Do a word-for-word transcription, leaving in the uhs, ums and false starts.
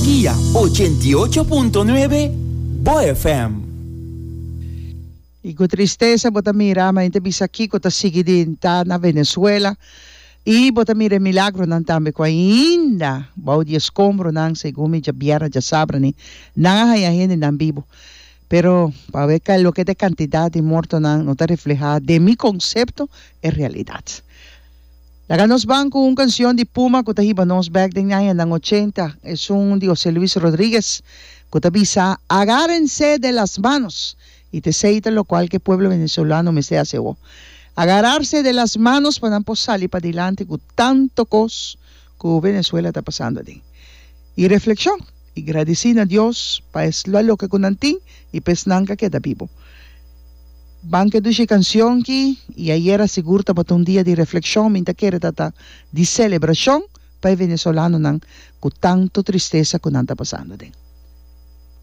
Dia ochenta i ocho punto nuebe Bo F M. I ku tristesa bo ta mira, ma ta bisa kiko ta sigui di ta na Venezuela. I bo ta mira e milagronan tambe ku ainda bou di escombronan, segun mi djabièrnè djasabra ni nan a haña hendenan bibu. Pero pa ber ka loke ta e kantidat di mortonan no ta reflehá den mi konsepto e realidat. Laga nos ban ku un kansion di Puma ku ta hiba nos bèk den añanan ochenta, esun di José Luis Rodríguez ku ta bisa "Agárense de las manos" i ta esei ta lokual ku e pueblo venezolano mester hasi awo. Agararse de las manos pa nan por sali padilanti ku tantu kos ku Venezuela ta pasando aden. I reflekshon i gradisí na Dios pa es loke ku nan tin i pa esnan ku a keda bibu. Ban ku e dushi kansion ki i ayera sigur tabata un dia di reflekshon, mi ta kere ta di selebrashon pa e venezolanonan ku tantu tristesa ku nan ta pasando aden.